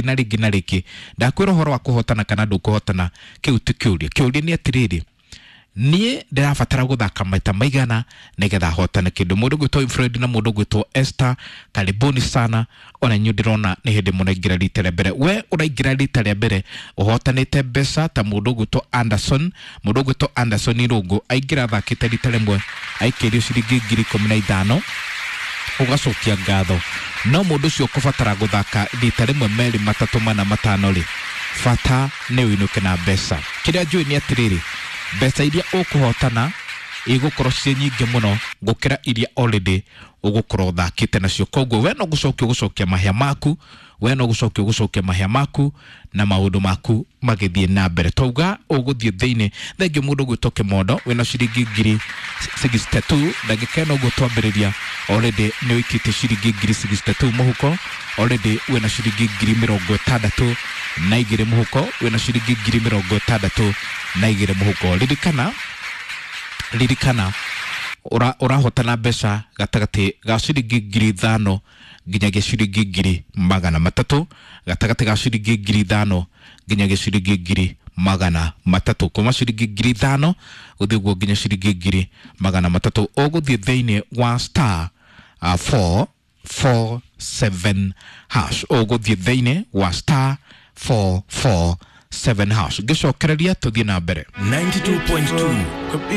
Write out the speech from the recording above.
Na rĩngĩ na rĩngĩ ndakwĩra ũhoro wa kũhotana kana ndũkũhotana, kĩu ti kĩũria. Kĩũria nĩ atĩrĩrĩ, niĩ ndĩrabatara gũthaka maita maigana nĩgetha hotane kĩndũ? Mũndũ gwĩtwo Fred na mũndũ gwĩtwo Esther, karibuni sana. Ona inyuĩ ndĩrona nĩ hĩndĩ mũraingĩra rita rĩa mbere. We ũraingĩra rita rĩa mbere ũhotanĩte mbeca ta mũndũ gwĩtwo Anderson. Mũndũ gwĩtwo Anderson Irũngũ aingĩra athakĩte rita rĩmwe, aikĩrio ciringi 15,000. Ũgacokia ngatho, no mũndũ ũcio ũkũbatara gũthaka rita rĩmwe, merĩ, matatũ, mana, matano rĩ, bata nĩ ũinũke na mbeca. Kĩrĩa njũĩ nĩ atĩrĩrĩ, mbeca iria ũkũhotana igũkorwo ciĩ nyingĩ mũno gũkĩra iria already ũgũkorwo ũthakĩte nacio. Koguo we no gũcokia ũgũcokia mahĩa maku, we no gũcokia ũgũcokia mahĩa maku na maũndũ maku magĩthiĩ na mbere. Twauga ũgũthiĩ thĩinĩ. Thengiũ mũndũ gwĩtwo Kĩmondo, wĩna ciringi 62,000. Ndagĩka ĩno ũguo twambĩrĩria, already nĩ ũikĩtie ciringi 62,000 mũhuko. Already wĩna ciringi 62,000 mũhuko, wĩna ciringi 62,000 mũhuko. Ririkana, ririkana, ũrahotana mbeca gatagatĩ ga ciringi 5,000 nginyagia ciringi 300,000, gatagatĩ ga ciringi 5,000 nginyagia ciringi 300,000, kuma ciringi 5,000 gũthiĩ ũguo nginya ciringi 300,000. Ũgũthiĩ thĩinĩ wa star 447 hash, ũgũthiĩ thĩinĩ wa star 447 hash. Ngĩcokereria tũthiĩ na mbere. 92.2.